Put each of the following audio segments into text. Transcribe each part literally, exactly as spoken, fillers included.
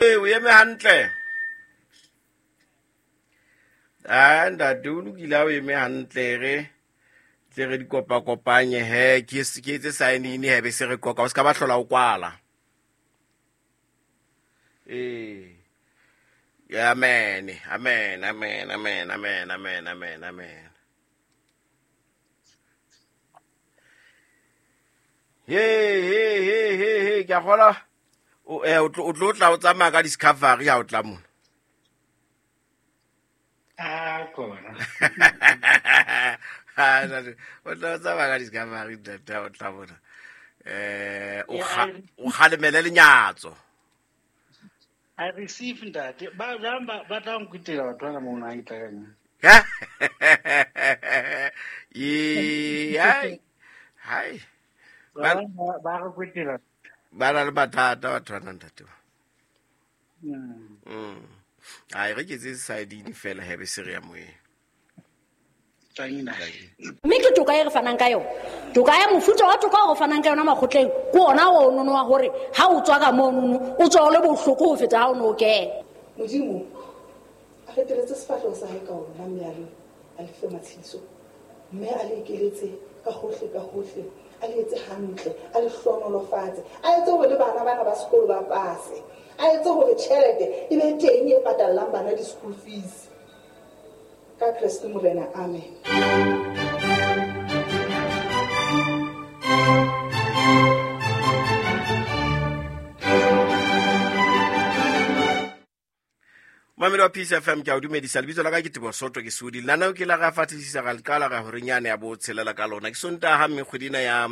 O eme hantle. Ah, ntate o lokile ha o eme hantle re tle re di kopakopanye he ke ke etse sign in he be se re qoqa o ska ba hlola o kwala. Eh. Amen. Amen. Amen. Amen. Amen. Amen. Amen. Amen. Hey hey hey hey hey ke a kgola o eh o tlo tla o tsamaya ka Discovery ha o tla mona. Ah kona. Ha o tla tsamaya ka Discovery ntate o tla mona. Eh o o kgalemele lenyatso. I receive ntate. Ba ba ba tla nkwitela batho ba mona ha itla kanya. Ye ai. Hai. Ba ba re kwitela. Ba na le mathata batho ba ntate ba. Mm. Mm. Ai re ke tse side fela he be se re ya moeng. Mme ke toka e re fanang ka yona. Toka ya mofuta wa toka o re fanang ka yona makgotleng ke ona o nono wa hore ha o tswa ka monono o tswa o le bohloko ho feta ha o no kena. Modimo a feteletse sefahleho sa hae ka ona mme a le a le fe matshediso mme a le ekeletse ka hohle ka hohle a le etse hantle a le hlohonolofatse a etse hore le bana bana ba sekolo ba pase a etse hore tjhelete e be teng e patallang bana di-school fees ka Kreste Morena. Amen. Mamelo wa Peace F M ke a o dumedisa. Lebitso la ka ke Teboho Soto ke Sudi. Lenaneo ke la ra fatlisisa ra le qala ra hore nyane ya bo tshelela ka lona. Ke Sontaha mme kgwedi ena ya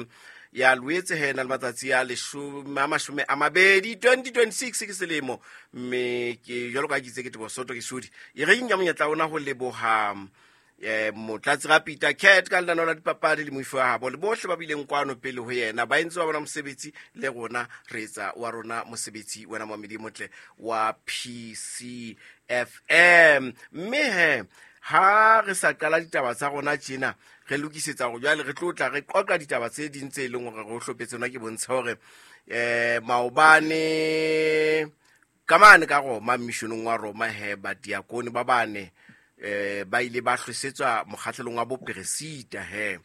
ya Loetse he na le matsatsi a leshome a mashome a mabedi twenty twenty-six ke selemo mme ke jwalo ka ke itse ke Teboho Soto ke Sudi. E re nka monyetla ona ho leboha eh motlatsi ra Peter Cat ka lenaneo la dipapadi le moifo wa habo le bohle ba bileng kwano pele ho yena ba entse ba bona mosebetsi le rona re etsa wa rona mosebetsi wena Mamedi Motle wa P C F M. Mme he ha re sa qala ditaba tsa rona tjena re lokisetsa hore jwale re tlo tla re qoqa ditaba tse ding tse leng hore re hlopetse nna ke bontsha hore eh maobane ka mane ka Roma missionong wa Roma he ba diakone ba bane eh ba ile ba hlosetswa mokgahlelong wa boperesita he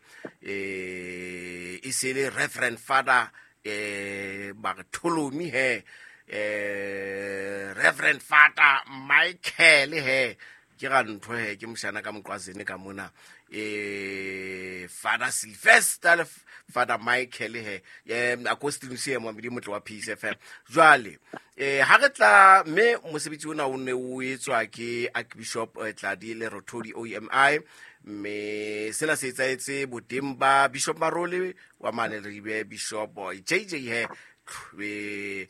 eh e se le Reverend Father eh Bartholomew he eh Reverend Father Michael he ke ra ntho he ke moshana ka moqwazene ka mona eh Father Sylvester le Father Michael he eh Agustinus e Mamedi Motle wa Peace F M. Jwale eh ha re tla mme mosebetsi ona o ne o etswa ke Archbishop Tladi Lerothodi O M I mme sena se etsaetse boteng ba Bishop Marole wa mane Leribe Bishop J J he eh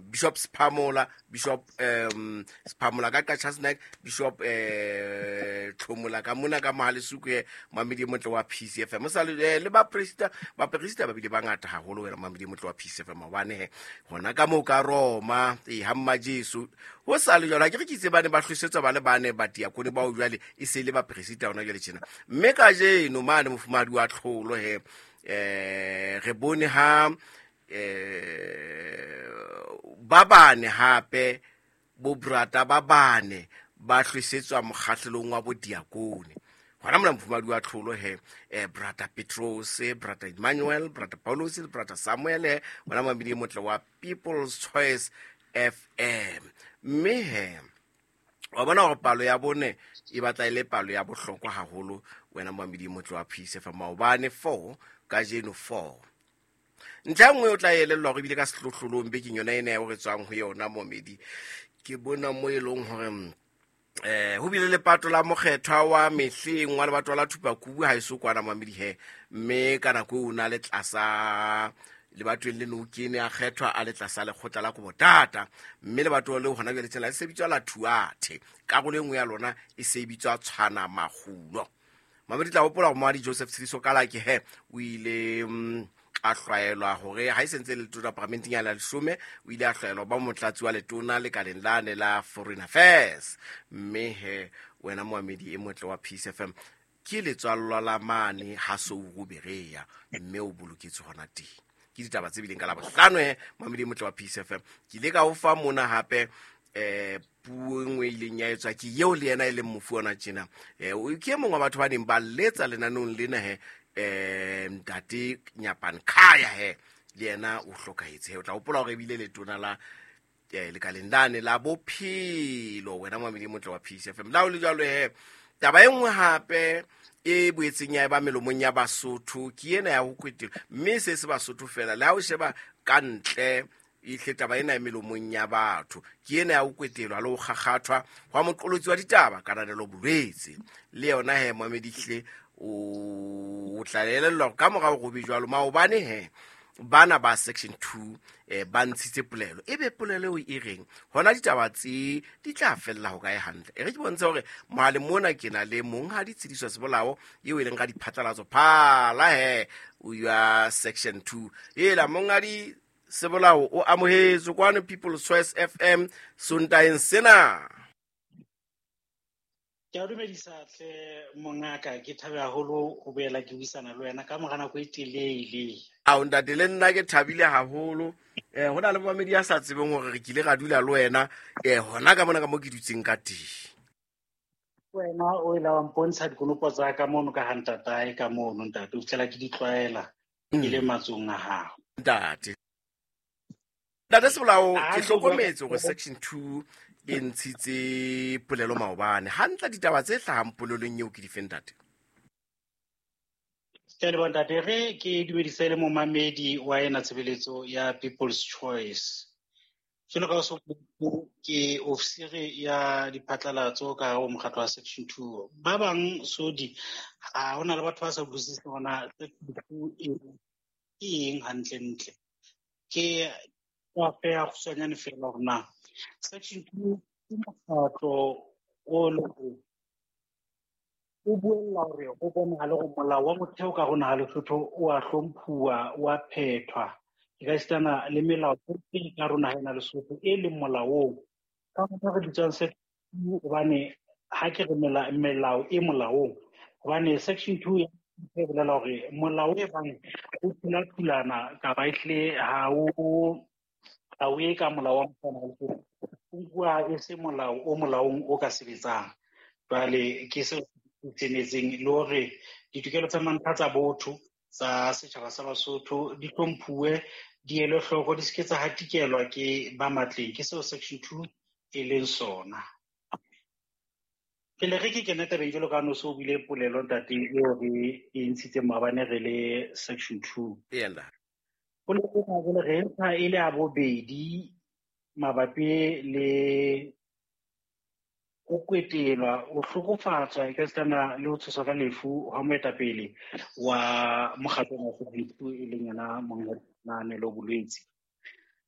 Bishop Sphamola Bishop um Sphamola ka Qacha's Nek Bishop eh Tlhomola ka mona ka Mohalesuku he Mamedi Motle wa P C F M sa le ba president ba president ba bile ba ngata haholo wena Mamedi Motle wa P C F M hobane he hona ka mo ka Roma e ha mma Jesu ho sa le jwalo ke re ke itse bane ba hlosetswa ba le bane ba diakone bao jwale e se le ba president hona jwale tjena mme ka jeno mane mofumadi wa tlholo he eh re bone ha eh ba bane hape bo brata ba bane ba hlosetswa mokgahlelong wa bodiakone hona mona mofumadi wa tlholo he eh brata Petros brata Emmanuel brata Paulus le brata Samuel he bona Mamedi Motle wa People's Choice F M mme he wa bona hore palo ya bone e batla ile palo ya bohlokwa haholo wena Mamedi Motle wa Peace F M maobane four kajeno four. Ntlha nngwe o tla elellwa hore ebile ka sehlohlolong bekeng yona ena eo re tswang ho yona Momedi ke bona mo e leng hore eh ho bile lepato la mokgethwa wa mehleng wa lebato la Thupakubu ha eso kwana Mamedi he mme ka nako o na le tlasa lebatweng le no kene a kgethwa a le tlasa lekgotla la Kobotata mme lebato leo hona jwale tsela e se bitswa la Thuathe karolo e nngwe ya lona e se bitswa Tshwana Makgulo. Mamedi tla hopola hore Moadi Joseph Tshidiso Kalake he o ile a hlwaelwa hore ha e sentse le letona parlamenteng ya la leshome o ile a hlwaelwa ba motlatsi wa letona lekaleng lane la Foreign Affairs mme he wena Moamedi e motle wa Peace F M ke letswallwa la mane ha Souru Berea mme o boloketswe hona teng. Ke ditaba tse bileng ka Labohlano he mamedi motle wa Peace F M. Ke ile ka o fa mona hape eh puo e nngwe e ileng ya etswa ke eo le yena e leng mofu ona tjena. Eh ke e mong wa batho ba neng ba letsa lenaneong lena he eh ntate Nyapane Khaya he le yena o hlokahetse he. O tla hopola hore ebile letona la eh lekaleng lane la bophelo wena mamedi motle wa Peace F M. La o le jwalo he taba e nngwe hape e boetseng ya eba melomong ya Basotho ke ena ya ho kwetela, mme se se Basotho fela le ha o sheba ka ntle ihle taba ena e melomong ya batho ke ena ya ho kwetelwa le ho kgakgathwa hwa moqolotsi wa ditaba Kananelo Bolwetse. Le yona he mamedi hle o tla elellwa ka morao ho be jwalo maobane he bana ba section two eh ba ntshitse polelo ebe polelo eo e reng hona ditaba tse di tla fella ho kae hantle. E re ke bontshe hore mohale mona ke na le monghadi Tshediso Sebolao eo e leng ka diphatlalatso phala he o ya section two. Ela monghadi Sebolao o amohetswe kwano People's Choice F M Sontaeng sena. Ke a dumedisa hle mongaka, ke thabe haholo ho boela ke buisana le wena ka mora nako e telele. Ao ntate le nna ke thabile haholo. Eh ho na le mamedi a sa tsebeng hore re kile ra dula le wena eh hona ka mona ka mo ke dutseng ka teng. Wena o ile wa mpontsha dikonopo tsa ka mono ka ha ntatae ka mono ntate, o fihlela ke di tlwaela ke le matsong a hao. Ntate Ntate Sebolao, ke hlokometse hore section two e ntshitse polelo maobane. Hantle ditaba tse hlahang polelong eo ke di fe ntate? Ke a leboha ntate, re ke dumedise le momamedi wa ena tshebeletso ya People's Choice. Jwalo ka o so ke ofisiri ya diphatlalatso ka hare ho mokgatlo wa section two. Ba bang sodi ha hona le batho ba sa utlwisiseng hore na section two e ke eng hantlentle. Ke wa feha kgutshwanyane feela hore na section two ke mokgatlo o leng hore o buella hore ho bonahale hore molao wa motheo ka hare ho naha Lesotho o a hlomphuwa, o a phethwa. E ka esitana le melao e ka hare ho naha ena Lesotho e leng molaong. Ka hona re bitswang section two hobane ha ke re melao e molaong, hobane section two e bolela hore molao e bang o thula-thulana kapa ehlile ha o ha o ye ka molao wa Lesotho, o nkuwa e se molao o molaong o ka sebetsang. Jwale ke seo se senetseng le hore ditokelo tsa mantlha tsa botho tsa setjhaba sa Basotho di hlomphuwe, di elwe hloko, di se ke tsa hatikelwa ke ba matleng. Ke seo section two e leng sona. Pele re ke kena tabeng jwalo ka ha no so o buile polelo ntate eo re e ntshitseng maobane re le section two. Ee, ntate. Polelo ena jwale re ntsha e le ya bobedi mabapi le ho kwetelwa, ho hlokofatswa e ka esitana le ho tshoswa ka lefu ha moetapele wa mokgatlo wa section two e leng yena Monghadi Kananelo Bolwetse.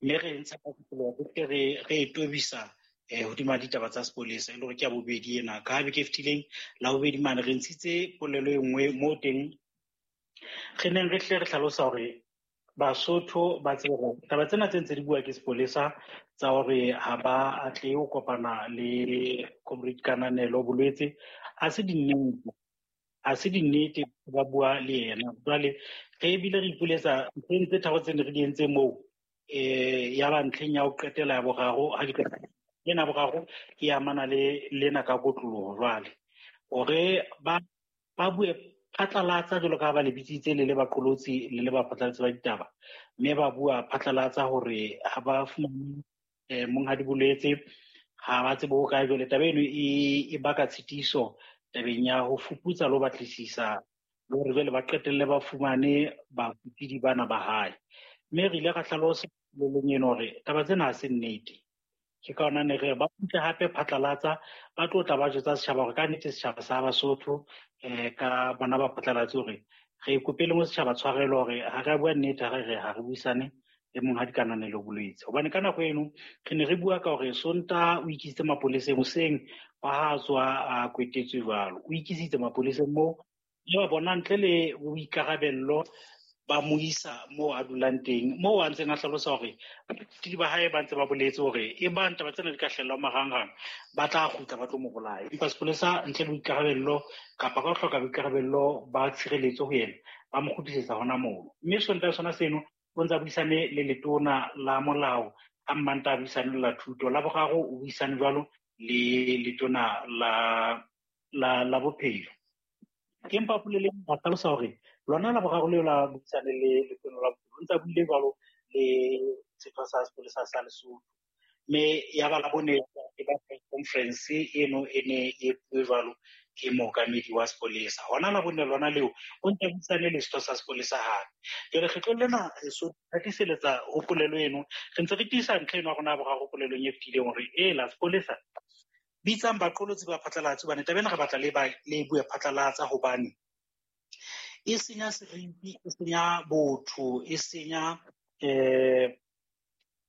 Mme re ntsha ka polelo ke re re e tobisa eh hodima ditaba tsa sepolesa e le hore ke ya bobedi ena. Ka ha beke e fetileng la bobedi mane re ntshitse polelo e nngwe moo teng re neng re hle re hlalosa hore Basotho ba tsebe hore taba tsena tse ntse di bua ke sepolesa tsa hore ha ba atlehe ho kopana le Comrade Kananelo Bolwetse ha se dinnete, ha se dinnete ba bua le yena. Jwale re ebile re ipoletsa ntlheng tse tharo tse ne re di entse moo eh ya ba ntlheng ya ho qetela ya boraro ha ke qeta ena boraro e amana le lena ka kotloloho. Jwale hore ba ba bue phatlalatsa jwalo ka ha ba le bitsitse le le baqolotsi le le baphatlalatsi ba ditaba, mme ba bua phatlalatsa hore ha ba fumane eh Monghadi Bolwetse, ha ba tsebe ho kae. Jwale taba eno e e baka tshitiso tabeng ya ho fuputsa le ho batlisisa le hore jwale ba qetelle ba fumane bakopidi bana ba hae. Mme re ile ra hlalosa leleng eno hore taba tsena ha se nnete. Ke ka hona ne re ba kgutle hape phatlalatsa ba tlo tla ba jwetsa setjhaba hore ka nnete setjhaba sa Basotho eh ka bona ba phatlalatse hore re ikopele mo setjhaba tshwarelo hore ha re bua nnete, ha re re ha re buisane le Monghadi Kananelo Bolwetse. Hobane ka nako eno re ne re bua ka hore Sontaha o ikisitse mapoleseng hoseng wa ha tswa a kwetetswe jwalo, o ikisitse mapoleseng moo le ba bona ntle le boikarabello ba mo isa moo a dulang teng, moo a ntseng a hlalosa hore baithuti ba hae ba ntse ba boletse hore e bang taba tsena di ka hlahella marangrang ba tla kgutla ba tlo mo bolaya. Empa sepolesa ntle le boikarabello kapa ka ho hloka boikarabello ba tshireletso ho yena ba mo kgutlisetsa hona moo. Mme Sontaha sona seno o ntse a buisane le letona la molao, ka Mmantaha a buisane le la thuto, la boraro o buisane jwalo le letona la la la bophelo. Empa polelong ba hlalosa hore lona la boraro leo la buisane le letona la bophelo, o ntse a buile jwalo le setho sa sepolesa sa Lesotho. Mme ya ba la bone e ba press conference eno e ne e bue jwalo ke mookamedi wa sepolesa. Hona la bone lona leo o ntse a buisane le setho sa sepolesa hape. Jwale kgetlong lena so thatiseletsa ho polelo eno, re ntse re tiisa ntlha eno ya rona ya boraro polelong e fetileng hore e la sepolesa bitsang baqolotsi ba phatlalatse, hobane taba ena re batla le ba le bue phatlalatsa, hobane e senya seriti, e senya botho, e senya eh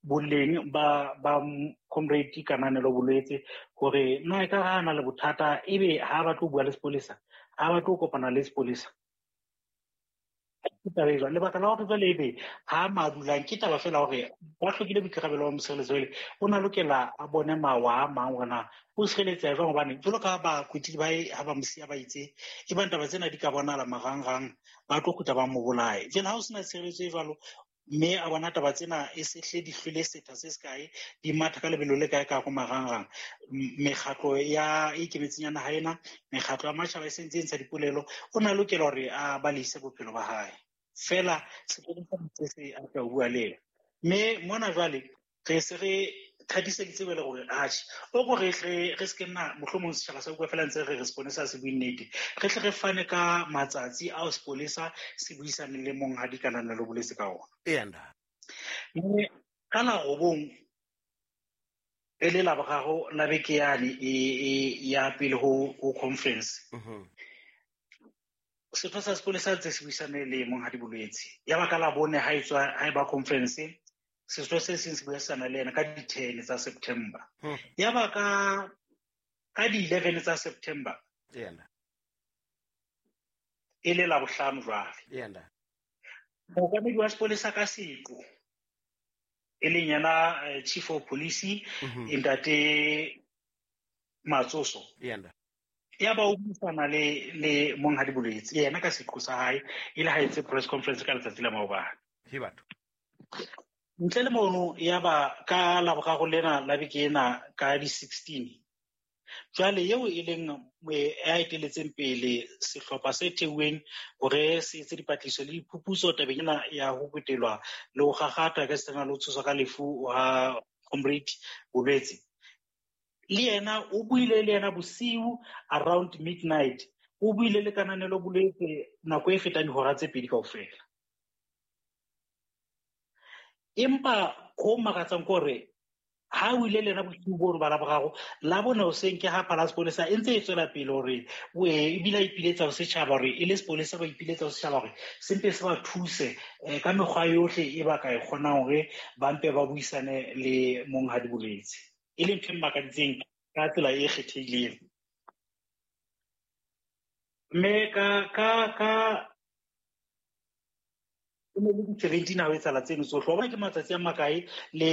boleng ba ba comrade Kananelo Bolwetse, hore na e ka ha na le bothata ebe ha ba tlo bua le sepolesa, ha ba tlo kopana le sepolesa. Ke taba e jwalo. Lebaka la hore jwale ebe ha madulang ke taba feela hore ba hlokile boikarabelo ba mosireletsi, jwale o na lokela a bone mawa a mang hore na o sireletseha jwang, hobane jwalo ka bakwetli ba hae ha ba mo siya ba itse e bang taba tsena di ka bonahala marangrang, ba tlo kgutla ba mo bolaye. Jwale ha o sena tshireletso e jwalo, mme a bona taba tsena e se hle di hlwele setha se sekae, di matha ka lebelo le kae ka go marangrang, mekgatlo ya e ikemetseng ya naha ena, mekgatlo ya matjhaba e sentse e ntsha dipolelo, o na lokela hore a balehise bophelo ba hae. Feela sepolesa se se a tla bua le yena. Mme mona jwale re se re thatiseditse jwale hore atjhe, o ko re hle re se ke nna mohlomong setjhaba sa bua feela ntse re re sepolesa se bue nnete, re tle re fane ka matsatsi ao sepolesa se buisaneng le monghadi Kananelo Bolwetse ka ona. Eya ntate. Mme ka la robong e le la boraro la beke yane e, e ya pele ho, ho conference, Mhm. setho sa sepolesa ntse se buisane le monghadi Bolwetse. Ya ba ka la bone ha e tswa, ha e ba conference, setho se seng se buisana le yena ka di-ten tsa September. Hmm. Ya ba ka, ka di-eleven tsa September, Eya ntate. e le la bohlano jwale. Eya ntate. Mookamedi wa sepolesa ka seqo, e leng yena, eh, Chief of Police, Mhm. Ntate Matsoso. Eya ntate. Ya ba o buisana le, le monghadi Bolwetse, yena ka seqo sa hae, e le ha etse press conference ka letsatsi la maobane. He batho. Ntle le mono, ya ba ka la boraro lena la beke ena ka di-sixteen. Jwale eo e leng ya eteletseng pele sehlopha se theuweng hore se etse dipatlisiso le diphuputso tabeng ena ya ho kwetelwa le ho kgakgatha ka sena le ho tshoswa ka lefu ha Comrade Bolwetse. Le yena o buile le yena bosiu around midnight, o buile le Kananelo Bolwetse nako e fetang dihora tse pedi kaofela. Empa ho makatsang ke hore ha o ile le yena bosiu bono ba Laboraro, la bone hoseng ke ha phala sepolesa e ntse e tswela pele hore o e, ebile a ipiletsa ho setjhaba hore e le sepolesa ba ipiletsa ho setjhaba hore se mpe se ba thuse, eh, ka mekgwa yohle e ba ka e kgonang hore ba mpe ba buisane le monghadi Bolwetse, e leng ntho e mmakaditseng ka tsela e kgethehileng. Mme ka, ka, ka e ne le di-seventeen ha ho etsahala tseno tsohle, wa bona ke matsatsi a makae le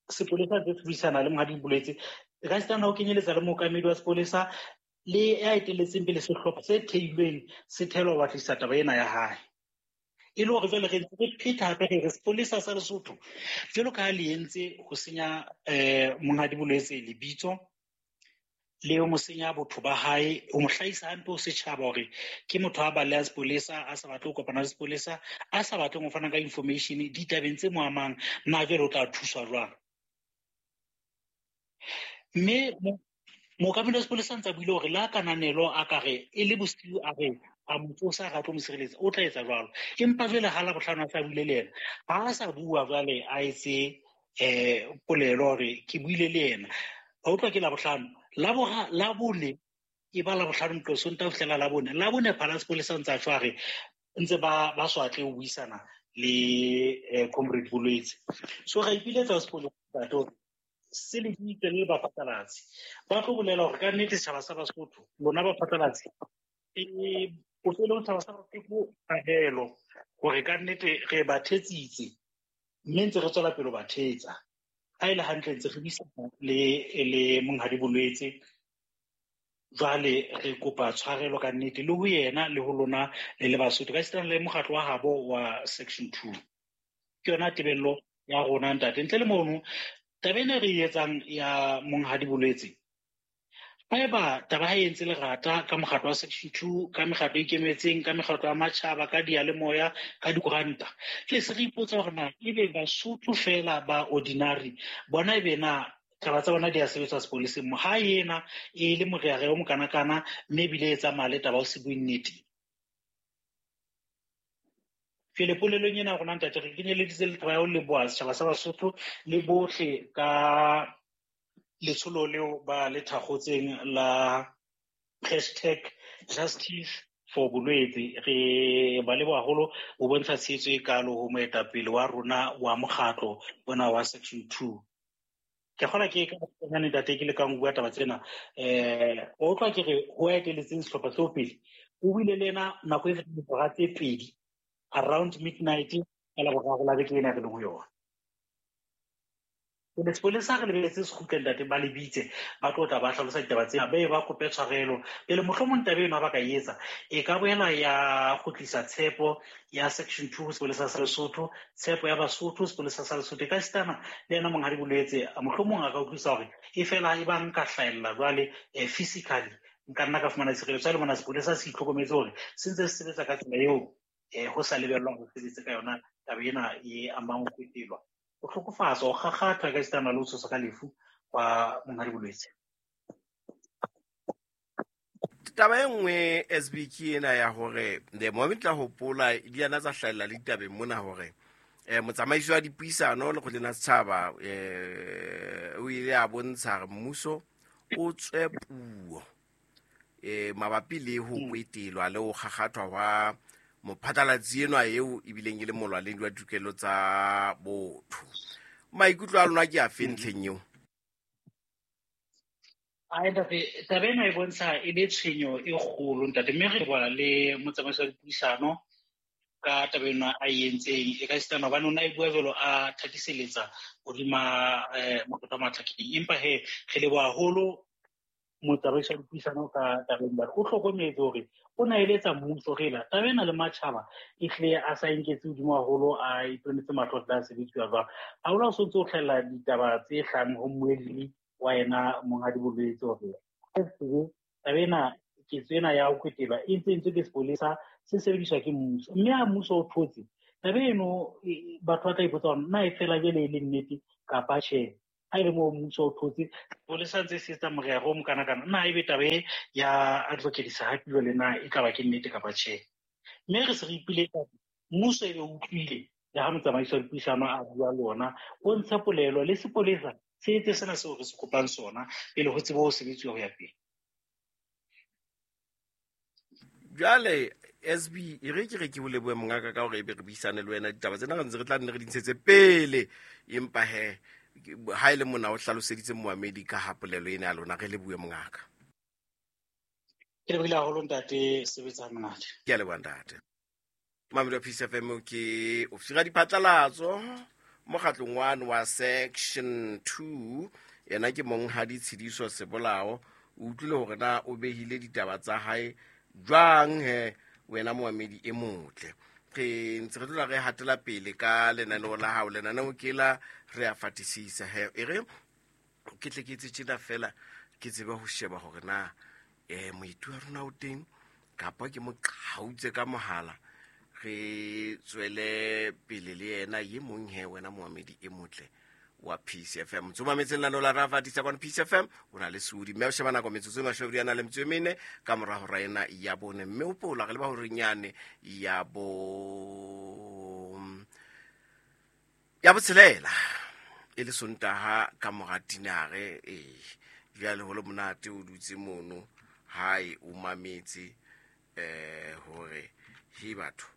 sepolesa se buisana le monghadi Bolwetse, e ka sitana ho kenyeletsa le mookamedi wa sepolesa le ya etelletseng pele sehlopha se theilweng se thelwa ho batlisisa taba ena ya hae. E le hore jwale re ntse re phetha hape re re sepolesa sa Lesotho jwalo ka ha le entse ho senya, eh, monghadi Bolwetse lebitso le ho mo senya botho ba hae, ho mo hlahisa hampe ho setjhaba hore ke motho a balehang sepolesa, a sa batle ho kopana le sepolesa, a sa batleng ho fana ka information ditabeng tse mo amang, na jwale o tla thuswa jwang? Mme mo-, mookamedi wa sepolesa ntse a buile hore la Kananelo a ka re e le bosiu a re a mo tsosa a tlo mo sireletsa, o tla etsa jwalo. Empa jwale ha Labohlano a sa buile le yena, ha a sa bua jwale a etse, eh, polelo hore ke buile le yena. Wa utlwa ke Labohlano, Labora, Labone, e ba Labohlano ntlo Sontaha ho fihlela Labone. Labone phala sepolesa ntse a tjho a re ntse ba, ba swatle ho buisana le, eh, Comrade Bolwetse. So ra ipiletsa ho sepolesa ntate hore se le ditse le baphatlalatsi. Ba tlo bolela hore ka nnete setjhaba sa Basotho, lona baphatlalatsi, e, o tlo le setjhaba sa Basotho kahelo hore ka nnete re ba thetsitse, mme ntse re tswela pele ho ba thetsa. Ha e le hantle ntse re buisana le, le monghadi Bolwetse, Jwale re kopa tshwarelo ka nnete le ho yena le ho lona le le Basotho ka sitana le mokgatlo wa habo wa section two. Ke yona tebello ya rona ntate. Ntle le mono taba ena re e etsang ya Monghadi Bolwetse, haeba taba ha e entse lerata ka mokgatlo wa section two, ka mekgatlo e ikemetseng, ka mekgatlo ya matjhaba, ka diyalemoya, ka dikoranta, ke se re ipotsa hore na ebe Basotho fela ba ordinary bona ebe na taba tsa bona di a sebetswa sepoleseng mo ha ena e le moreare o mokanakana mme ebile e tsamaya le taba o se bue nnete. Jwale polelong ena rona ntate re kenyeleditse le taba ya ho leboha setjhaba sa Basotho le bohle ka letsholo leo ba le thakgotseng la hashtag justice for Bolwetse. Re ba leboha haholo ho bontsha tshehetso e kalo ho moetapele wa rona wa mokgatlo ona wa section two. Ke kgona ke ka bokgabane ntate ke lekang ho bua taba tsena. Eh, o utlwa ke re ho eteletseng sehlopha seo pele o buile le ena nako e fetang dihora tse pedi around midnight ka Laboraro la beke ena re leng ho yona. Jwale sepolesa re lebeletse se kgutle ntate ba le bitse ba tlo tla ba hlalosa ditaba tsena, ba ye ba kope tshwarelo pele mohlomong taba eno ha ba ka e etsa e ka boela ya kgutlisa tshepo ya section two sepolesa sa Lesotho, tshepo ya Basotho sepolesa sa Lesotho. E ka sitana le yena Monghadi Bolwetse mohlomong a ka utlwisisa hore e fela e ba nka hlahella jwale physically nka nna ka fumana tshireletso. Jwale mona sepolesa se itlhokometse hore se ntse se sebetsa ka tsela eo eh ho sa lebellwang ho sebetse ka yona taba ena e amang ho kwetelwa, ho hlokofatswa, ho kgakgathwa ka sitana le ho tshoswa ka lefu kwa Monghadi Bolwetse. Taba e nngwe S B ke ena ya hore the moment tla hopola di ana tsa hlahella le ditabeng mona hore eh motsamaisi wa dipuisano lekgotleng la setjhaba eh o ile a bontsha hore mmuso o tswe puo eh mabapi le ho kwetelwa le ho kgakgathwa hwa mophatlalatsi enwa eo ebileng e le molwaledi wa ditokelo tsa botho. Maikutlo a lona ke afe ntlheng eo? Ai ntate, taba ena e bontsha e le tshwenyo e kgolo ntate, mme re leboha le motsamaisi wa dipuisano ka taba ena a e entseng. E ka sitana hobane o na e bua jwalo a thatiseletsa hodima eh mokgotla wa Matlakeng, empa he re leboha haholo motsamaisi wa dipuisano ka taba ena. O hlokometse hore o na eletsa mmuso re la taba ena le matjhaba e hle a sa inketse hodimo haholo, a iponetse mahlo a sebetsiwa jwang. Haholo ha o so ntso o hlahella ditaba tse hlahang ho mmuelli wa yena Monghadi Bolwetse hore taba ena ketso ena ya ho kwetelwa e ntse entswe ke sepolesa se sebediswa ke mmuso, mme ha mmuso o thotse taba eno batho ba tla ipotsa hore na e fela jwale e le nnete kapa tjhe. Ha ele moo mmuso o thotse sepolesa ntse se etsa morero o mokanakana, na ebe taba e ya advocate Sehapi jwale na e tla ba ke nnete kapa tjhe. Mme re se re ipiletsa mmuso ebe o utlwile le ha motsamaisi wa dipuisano a bua le ona, o ntshe polelo le sepolesa se etse sena seo re se kopang sona pele ho tsebe ho sebetsiwa ho ya pele. Jwale S B e re ke re ke o lebohe mongaka ka hore ebe re buisane le wena ditaba tsena re ntse re tla nne re di ntshetse pele, empa he ha e le mona o hlaloseditse moamedi ka ha polelo ena ya lona, re lebohe mongaka. Ke lebohile haholo ntate, sebetsa monate. Ke a leboha ntate. Mamedi wa Peace F M ke ofisiri ya diphatlalatso mokgatlong one wa section two, yena ke Monghadi Tshidiso Sebolao. O utlwile hore na o behile ditaba tsa hae jwang he wena moamedi e motle. Re ntse re tlola re hatela pele ka lenaneo la hao, lenaneo ke la re a fatisisa he. E re ke tle ke etse tjena fela ke tsebe ho sheba hore na eh moeti wa rona o teng kapa ke mo qhautse ka mohala, re tswele pele le yena ye mong he wena moamedi e motle wa Peace F M. Tsoma metseng la nola ra fatisa kwa Peace F M o na le Sudi mme o sheba nako metsotso e mashome a na le metso e mene ka mora hora ena ya bone, mme o pola re le ba hore nyane ya bo ya botshelela e le Sontaha ka mora tinare. Eh jwale ho le monate o dutse mono hae o mametse eh hore he batho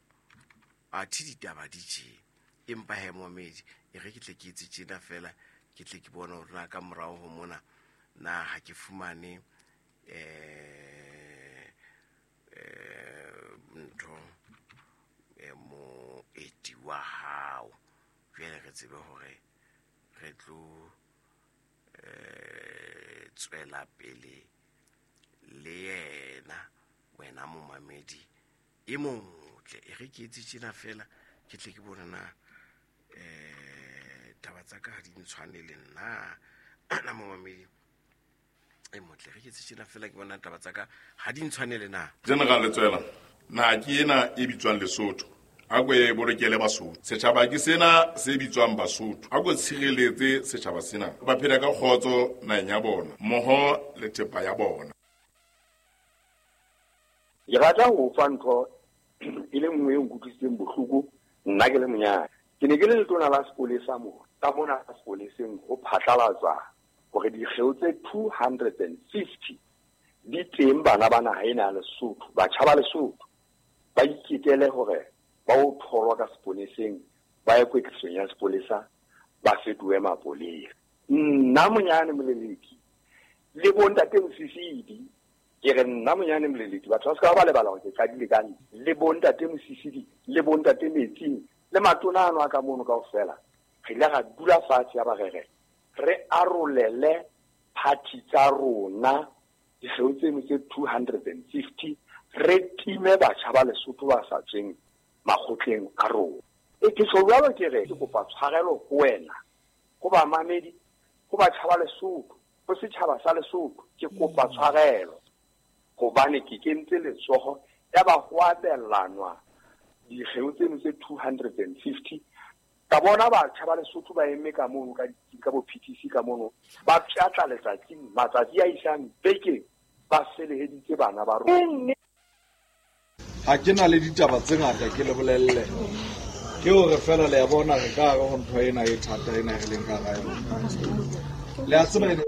a thi ditaba di tje, empa he momedi e re ke tle ke etse tjena fela ke tle ke bone hore na ka morao ho mona na ha ke fumane eh eh ntho e moeti wa hao. Jwale re tsebe hore re tlo eh tswela pele le yena wena momamedi e motle. E re ke etse tjena fela ke tle ke bone na eh taba tsa ka ha di ntshwane le nna na momamedi e motle. Re ke etse tjena fela ke bona taba tsa ka ha di ntshwane le nna. General Letsoela, na ke ena e bitswang Lesotho, a ko e bolokele Basotho. Setjhaba ke sena se bitswang Basotho, a ko tshireletse setjhaba sena, ba phela ka kgotso naheng ya bona mmoho le thepa ya bona. Ke rata ho fa ntho e le nngwe e nkutlwisitseng bohloko nna ke le monyane. Ke ne ke le letona la sepolesa moo, ka mona sepoleseng ho phatlalatswa hore dikgeo tse two hundred and fifty di teng bana ba naha ena ya Lesotho, batjha ba Lesotho ba iketele hore ba o tholwa ka sepoleseng, ba ye kwetlisong ya sepolesa, ba fetohe mapolesa. Nna monyane Moleleki le bontate Mosisidi, ke re nna monyane Moleleki, batho ba se ka ba lebala hore ke qadile ka nna, le bontate Mosisidi le bontate Metsing le matona ano a ka mono kaofela, re ile ra dula fatshe ya ba re re re arolele party tsa rona dikgeo tseno tse two hundred and fifty, re time batjha ba Lesotho ba sa tsweng makgotleng a rona. E ke tjho jwalo ke re ke kopa tshwarelo ho wena, ho bamamedi, ho batjha ba Lesotho, ho setjhaba sa Lesotho, ke kopa tshwarelo hobane ke kentse letsoho ya ba ho abelanwa dikgeo tseno tse two hundred and fifty. Ka bona batjha ba Lesotho ba eme ka mono ka ka bo P T C ka mono, ba pshatla letsatsing, matsatsi a isang bekeng, ba feleheditse bana ba rona. Ha ke na le ditaba tse ngata ke le bolelle, ke hore fela le a bona re ka hare ho ntho ena e thata ena re leng ka hara yona. Le a tseba ene